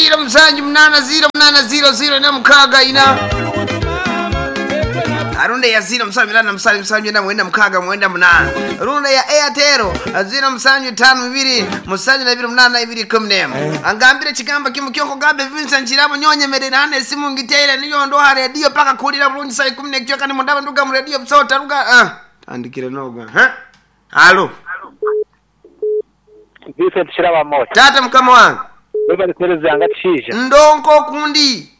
0 7 8 0 8 0 0 4 6 Arunda ya 0 7 8 7 7 9 6 9 8 Runda ya Airtel 0 7 5 2 7 2 8 2 14 Angambire chigamba kimu kyoko gambe Vincent Chirabo nyonyemerera hane esimu ngiteire niyo ndoha radio paka kulira bulungi saa 10 nekyo kandi mundaba nduga mu radio msota ruga ah tandikire noga ha Halo Vincent Kirabo Amooti. Tata mukama wange Webale kuheereza nga Kishaija. Ndonko kundi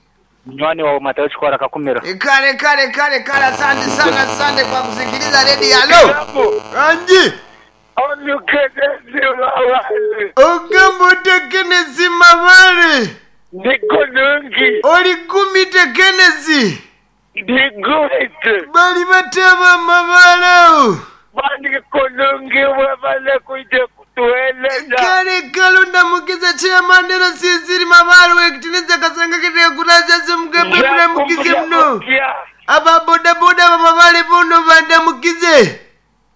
Munywani wawe Matayo Kikwara Kakumiro. Kale kale kale kale, asante sana, asante kwa kusikiliza redio. Halo anji ogamba otekenesi mabale Ndikunungi. oligumite kenesi Ndigumite. bali batema mabale awo Bandikunungi webale kuija kutueleza. kale kale ondamukiza chairman era sinziri mabale wekitiniza kasanga ketekulazaze mugambe mulamukize muno aba bodaboda bamabale bono bandamukize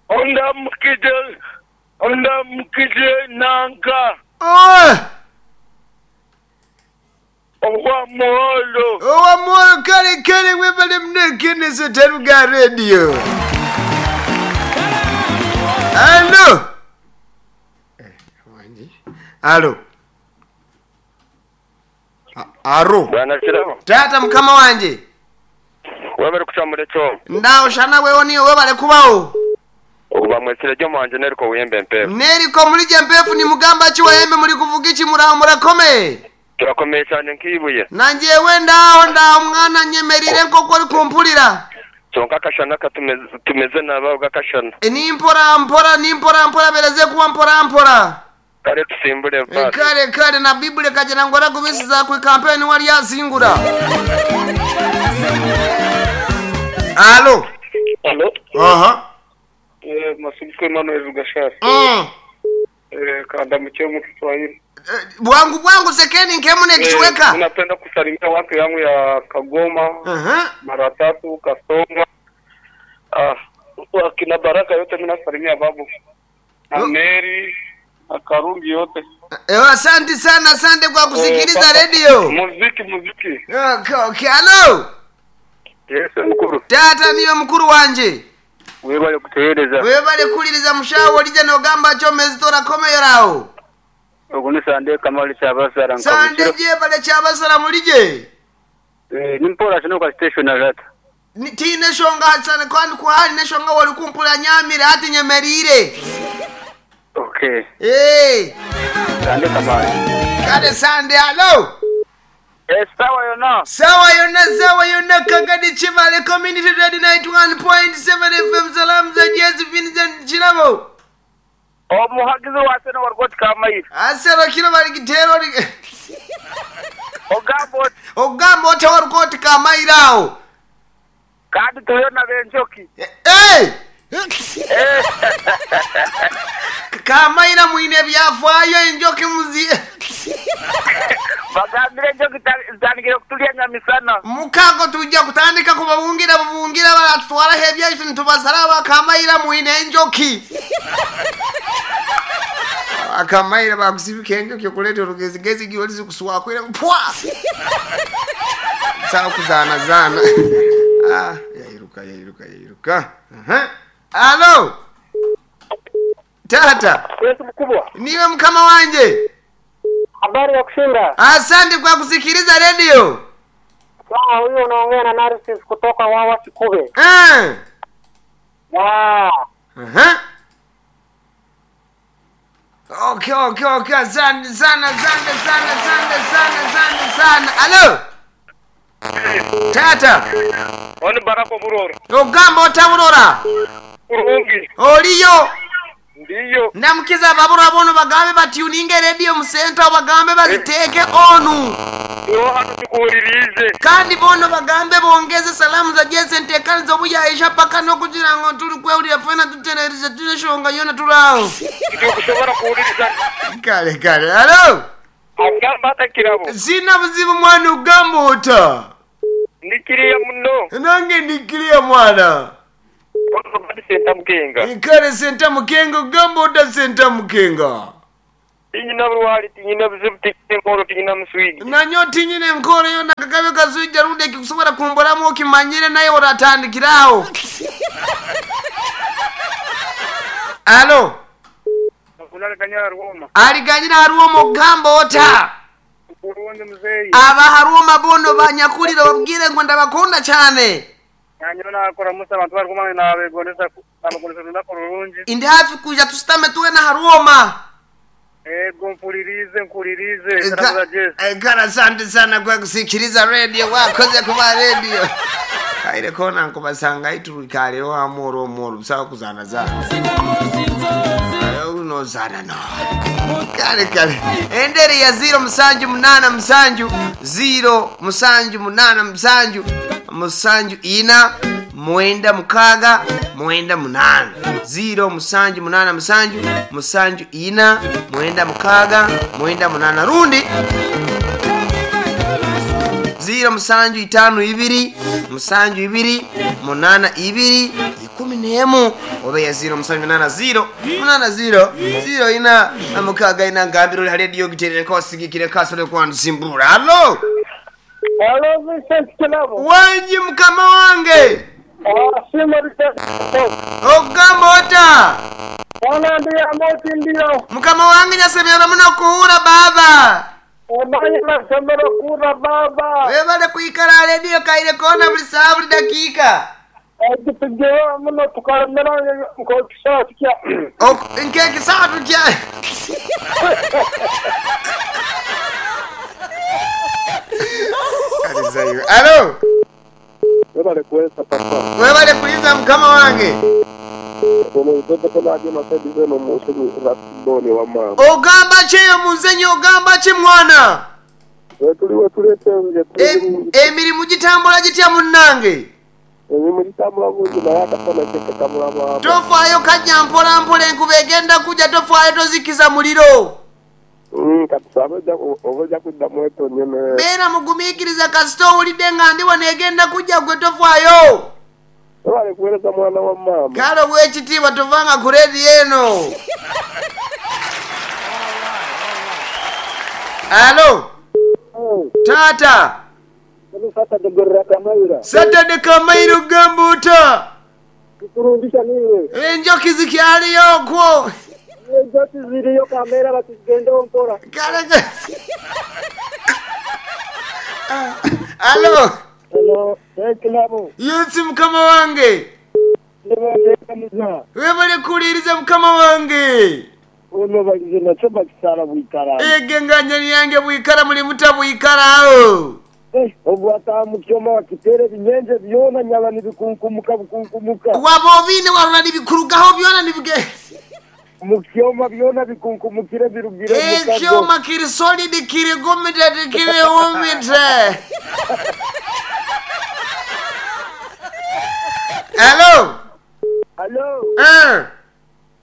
Ondamukize. Ondamukize nanka. Oh! Owa muholo. Owa mwoyo kale kale webale mune kenesi taruga radio. Alo. Wanji. Alo. Aro. Bwana Kirabo, Tata mukama wanje. webale kucamura ekyomo. Ndawo shana wewe niyo webale kubawo. Okuba mwesire ryo mwanje neriko wiyembe mpefu. Neriko mulije mpefu ni mugamba ki wayembe muri kuvuga iki muraho murakome. Turakomeye cyane nk'ibuye. Nanjewe ndaho ndaho mwana nyemerire nkoko uri kumpurira. Kyonka akashana katumeze tumeze nabi gakashana. E, ni mpora mpora ni mpora mpora bereze kuba mpora mpora. Kare tusimbure E, mfasi. kale kale na bibuli kagira ngo aragubisiza ku kampeni wari yazingura. Alo. Halo. Aha. Masumbuko Emmanuel Rugashara. Kanda mcheo Kiswahili. Bwangu bwangu sekeni nkemune kichweka. Napenda kusalimia watu yangu ya Kagoma, Aha. mara tatu Kasonga. Ah, akina Baraka yote mimi nasalimia babu. Na Oh. Mary na Karungi yote. Asante sana, asante kwa kusikiliza Eh, radio. Muziki muziki. Okay, okay. Alo. Yes, mkuru. Tata niyo mukuru wanje. Webale kutehereza. Webale kuliriza mushawo lija nogamba cho mezitora komeyerawo. Oguni sande kamali chabasara Sande jebale chabasara mulije. Eh, nimpora chino kwa station arata. Tine shonga sana kwani kwali ne shonga wali kumpula nyamire ati nyemerire. Okay. Eh, Sande kamali. kale sande alo. Eh, sawa yona. Sawa yona sawa yona Kagadi Chivale Community Radio 91.7 FM salamu za Jezi Vincent Chirabo. Omuhagizi wa sena wargot kamayi. Asero kilo bali kitero li Ogamba oti ogamba otya warukoti kamairawo. kandi tuyona benjoki. Eh! Kamaira mwine byafaayo enjoki muzi Bagambire enjoki zitandikire kutulya nyamisana. mukago tujja kutandika kubabungira bubungira baratutwaraho ebyaitu nitubasara bakamaira mwine enjoki akamaira bakusibika enjoki okuleta olugezigezi giwolizi kuswakwira pwa sawa kuzaanazaana Ah, yairuka yairuka yairuka. Aha. Alo tata Yesu mkubwa. niwe mkama wanje Habari ya kushinda. asante kwa kusikiliza redio Sawa, huyu unaongea na Narcis kutoka Wawa Kikube. Eh. Ah, Aha. Okay, okay, okay. Asante sana, asante sana, asante sana, asante sana. Alo. Tata, Oni Baraka Burora. ogamba otaburora. Kurungi. Oliyo. Ndiyo. Ndamukiza ababurora bono bagambe batuninge radio mu center bagambe baziteeke onu. Yo hano tukuwulirize. Kandi bono bagambe bongeze salamu za Jesse ntekani zobuyaisha paka nokugira ngo tuli kwewulira fena tutererize tuleshonga yona tulawo. Tukushobora kuwuliriza. Kale kale. Alo. Agamba atakirabo. Sina buzibu mwana ogamba ota. Ndikiriya muno. Nange ndikiriya mwana. Ono badi senta mukenga. Kale senta mukenga ogamba ota senta mukenga. Tinyina burwari, tinyina buzibu, tinyina enkooro, tinyina muswija. Nanyowe tinyine enkooro yoona kakabe kaswija rundi ekikusobora kumburamu okimanyire naye oratandikira aho. Alo. Aliganyira Harwoma ogamba ota? Aba Harwoma boona obanyakulire obabwire ngu ndabakunda cyane. Ndi hafi kwija tusitame twena Harwoma. Kara asante sana kwa kusikiliza radio wakoze kuba radio. Kaire kona nkubasanga aiturikaleho amoro omoro busawa kuzana zana. Unozana no. Kale kale. Enderi ya 0 musanju munana musanju 0 musanju munana musanju musanju ina mwenda mukaga mwenda munana 0 musanju munana musanju musanju ina mwenda mukaga mwenda munana rundi 0 musanju itano ibiri musanju ibiri munana ibiri ikumi n'emu oba ya 0 musanju munana 0 munana 0 0 ina na mukaga ina ngambiro uri rediyo giterere kosigikire kasore kwanzimbura. Halo. Halo Vincent Kilabo. Wanji mukama wange. Sima Vincent. Ogamba ota? Bwana ndiye amoti ndio. Mukama wange nyasemera muno kuhura baba. Omanye nasomero kura baba. Webale kwikara rediyo kaire kona buli saha buli dakika. Ekitugeho muno tukalemera nk'ekisaha kya. Nk'ekisaha tutya. Alo. Webale kuweza papa. Webale kuliza mukama wange. Ogamba ki eyo muzenyi ogamba ki mwana? Tuliwo tuletenje. Emirimu gitambula gitya munnange? Emirimu gitambula bulungi naye akasana kekakamula maama. Tofaayo kajja mpola mpola enkuba egenda kujja tofaayo tozikiza muliro. Katusabe oba ojja kuddamu etonye. Beera mugumiikiriza kasita owulidde nga ndi wano egenda kujja gwe tofaayo. Webale kuweereza mwana wa maama. Kale ow'ekitiibwa tovanga ku rediyo eno. Alo. Taata. Saturday Kamaira ogamba ota? Tukurundisha niwe. Enjoki zikyaliyo okwo. Enjoki ziriyo kamera batugendeho mpora. Kale. Alo. Hello, Kilabo. Yesi mukama wange. Webale kuwuliriza mukama wange. Ono balize nakyo bakisala bwikara. Ege nganya yange bwikara muli muta bwikara aho. Obwata mukyoma wakitere binyenje byona nyala nibikunkumuka bukunkumuka. Wabobine warula nibikurugaho byona nibige. Mukyoma byona bikunkumukire birugire mukago. Ekyoma kiri solid kiri gumite kiri umite. Hello. Hello.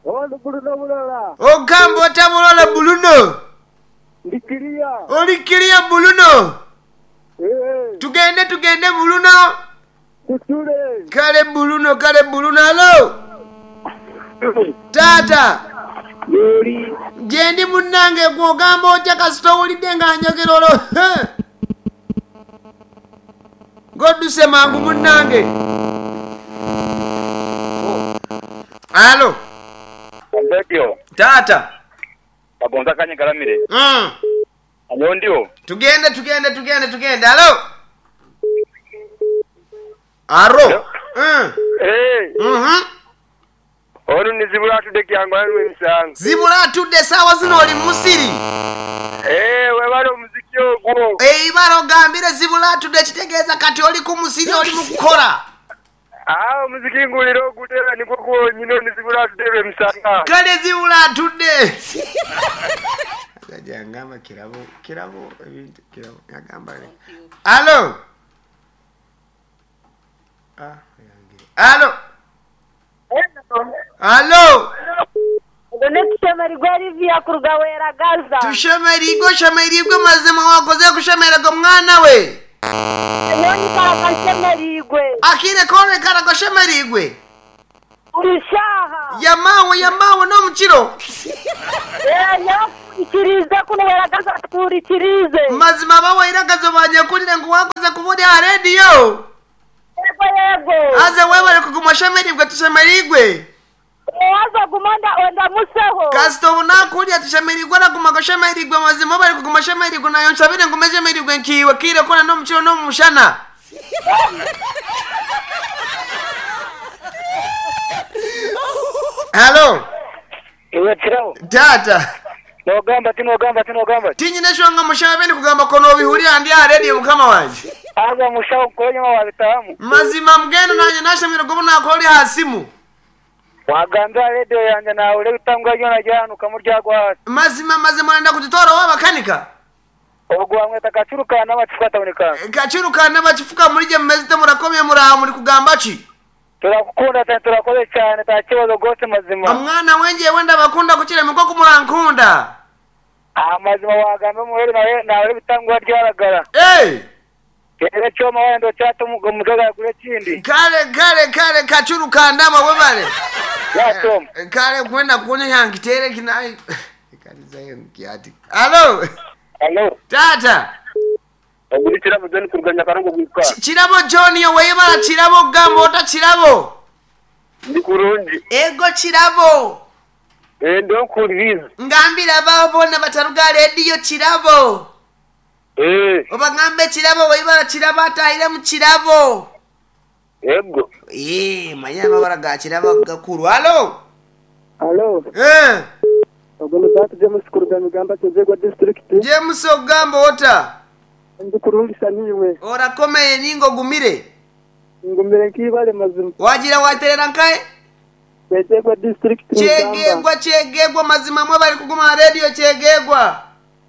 Ono Bruno Bulola. Ogamba ota Bulola Bruno? Ndikiria. Olikiria Bruno? Tugende tugende Bruno. Tutule. Kale Bruno kale Bruno. Hello. Tata. Yori. Jendi munnange gw'ogamba otya kasita owulidde nga njogera olwo. Ng'odduse mangu munnange. Alo. Radio. Tata. Bagonza kanye galamire. Anyo ndio. Tugende tugende tugende tugende. Alo. Aro. Ono ni zibula atudde kyangu alwe emisango. Zibula atudde sawa zino oli musiri. Webale omuziki ogwo. Ibara ogambire zibula atudde kitegeeza kati oli ku musiri oli mu kukola. Omuziki ngulira ogutera nikwo kwonyini ono zibula atudde lw'emisanga. Kale zibula atudde. Ajangamba kirabo kirabo ebintu kirabo agamba. Alo. Alo. Alo. Tushemerigwe Livia kuruga Weragaza. Tushemerigwe shemerigwe mazima wakoze kushemererwa mwana we. Nyoni karaka shemerigwe. Akire kore karaka shemerigwe. Buri shaaha. Yamaawe yamaawe n'omukiro. Eh, nyakuhurikiriize kunu weragaza atuhurikiriize. Mazima abawairagazo banyakulire ngu wakoze kuba ori aha rediyo. Yego yego. Haza webare kuguma oshemereirwe tushemereirwe. Waza guma ondamuseho. Kasita obu nakurya tushemereirwe oraguma goshemereirwe mazima obare kuguma oshemereirwe nayo nshabire ngume nshemereirwe nkiiwe kiire kona n'omukiro n'omu mushana. Halo Iwe Kirabo, taata. nogamba ki nogamba ki nogamba ki? Tinyine eshonga mushaho ebi ndikugamba ko nobihurira ndi aha rediyo mukama wangye. Haza mushaho nkore nyuma wabitahamu. Mazima mbwenu nanye nashemererwa obu nakuba ori aha simu. Wagambira rediyo yangye nahurira ebitambwa byona byahanukamu ryagwa ahansi. Mazima mazima orenda kugitwara ow'abakanika? Ogwo bamweta Kacuru ka Nabakifuka tawuni kange. Kacuru ka Nabakifuka murigye mumeze murakomye muraha muri kugamba ki? Turakukunda cyane turakoze cyane ntakibazo rwose mazima. Mwana we njyewe ndabakunda kukira emikoko murankunda. Amazima wagamba omuheri nawe nawe ebitangwa ryaragara. Hey! Era kyoma wenda okyata omugaga gure ekindi. Kale kale kale Kacuru ka Ndama webale. Ya kyoma. Kale kwenda kuona yangitere kinai. Halo. Halo. Tata. Oguri Kirabo John kuruga Nyakarongo gwika. Kirabo John yo webala Kirabo gamba ota Kirabo. Ndi kurungi. Ego Kirabo. Eh ndonkuririza. Ngambira abaho bona bataruga rediyo Kirabo. Eh. Obagambe Kirabo webala Kirabo atahire mu Kirabo. Ego. Eh manya amabara ga Kirabo gakuru. Halo. Halo. Eh. Ogwo ni Bahati James kuruga Migamba Kyegegwa district. James ogamba ota. Ndi kurungi niiwe. Orakomeye ninga ogumire. Ngumire nk'ibare mazima. Wagira waterera nkahe? Kyegegwa district. Kyegegwa kyegegwa mazima mwe bari kuguma aha rediyo kyegegwa.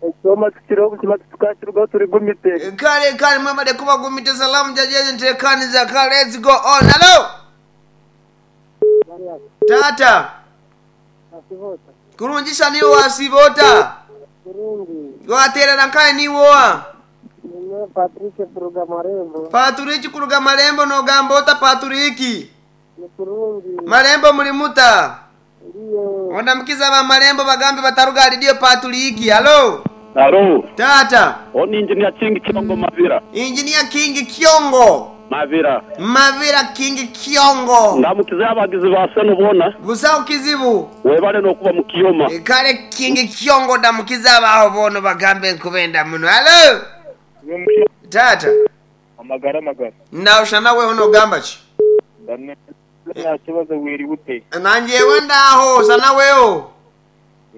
Ekyoma tukiriho obuzima titukakirugaho turi gumite. Kale kale mwe bari kubagumite salamu jajeje ntekaniza kale let's go on. Hello. Tata. Kurungisha niwe wasibota. Kurungi. Waterera nkahe niwoa. Niwe Patrick kuruga Marembo. Patrick kuruga Marembo nogamba ota Patrick. Ni kurungi. Marembo muri muta. Ndiyo. Ondamukiza ba Marembo bagambe bataruga rediyo Patrick. Hello. Halo. Tata. Oni Engineer King Kiongo Mavira. Engineer King Kiongo. Mavira. Mavira King Kiongo. Ndamukiza abagizi ba seno bona. Busaho kizibu. Webale nokuba mu kiyoma. Kale King Kiongo ndamukiza abaho bono bagambe nkubenda muno. Hello. Tata. Amagara magara. Naushana weho nogamba ki? Nta kibazo wiri ute. Nanjewe ndaho sana weho.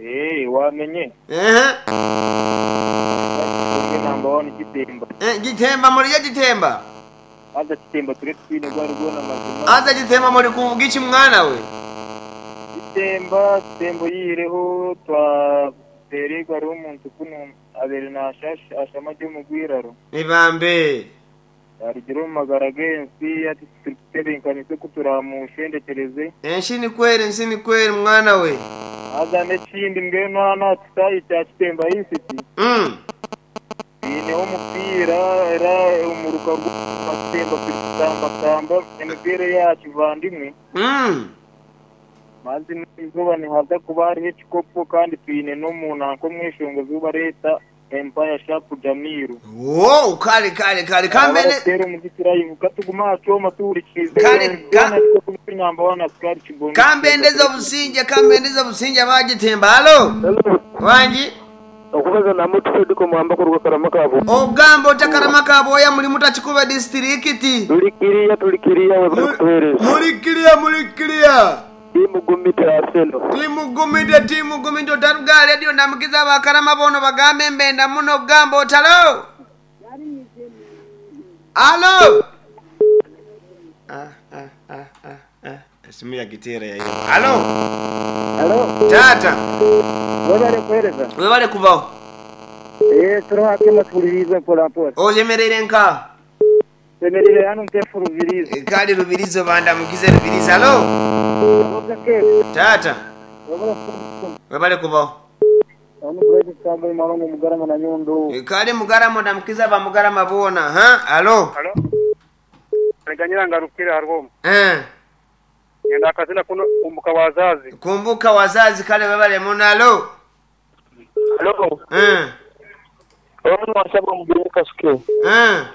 Eh wamenye. Eh. Namba 1 Gitemba. Eh Gitemba muri ya Gitemba. Aza Gitemba turi twine gwari gona mazima. Aza Gitemba muri kuvuga iki mwana we? Gitemba Gitembo yireho twa terega ari omuntu kuno abere nashash ashama ryo mugwiraro. Nibambe. Arigiro mu magara gensi ati tutebenkanise kuturamushendekereze. Enshi ni kweri enshi ni kweri mwana we. Aza n'ekindi mbwenu hano atusayi kya Kitemba East. Ineho omupiira era omuruka gwa Kitemba turi kutamba emipiira eya kivandimwe. Mazi n'izuba nihaza kuba hariho ekikopo kandi twine n'omuntu nk'omweshongozi obareta Empire Sharp Jamiru. Wow, kale kale kale kambene Abaratera omuziki live katuguma aha kyoma tuhurikize. Kale, Namba 1 Askari Kibondo. Kambendeza obusinge kambendeza obusinge abagitemba. Halo. Wangi. Okubaza na mutu Fediko Mwamba kuruga Karama Kabo. Ogamba ota Karama Kabo ya muri mutakikuba district. Tulikiriya tulikiriya webale kutuheereza. Mulikiriya mulikiriya. Timugumite Arsenal. Timugumite timugumite otaruga radio ndamukiza abakarama bono bagambe mbenda muno ogamba otalo. Halo. Esimu ya gitera ya hiyo. Halo. Halo. Tata. Webale kuheereza. Webale kubaho. Eh turi hakema tuhuririze mpora mpora. Oyemerere nka. Twemerere hano ntefu Rubirizi. Kale Rubirizi bandamukize Rubirizi. Halo. Tata. Webale kubaho. Kale Mugarama ndamukiza ba Mugarama bona. Ha? Halo. Halo. Reganyira ngarukira harwo. Eh. Ngenda akazina kuno kumbuka wazazi. Kumbuka wazazi kale webale muno. Alo. Halo. Eh. Ono wasaba omugeni kasuke. Eh.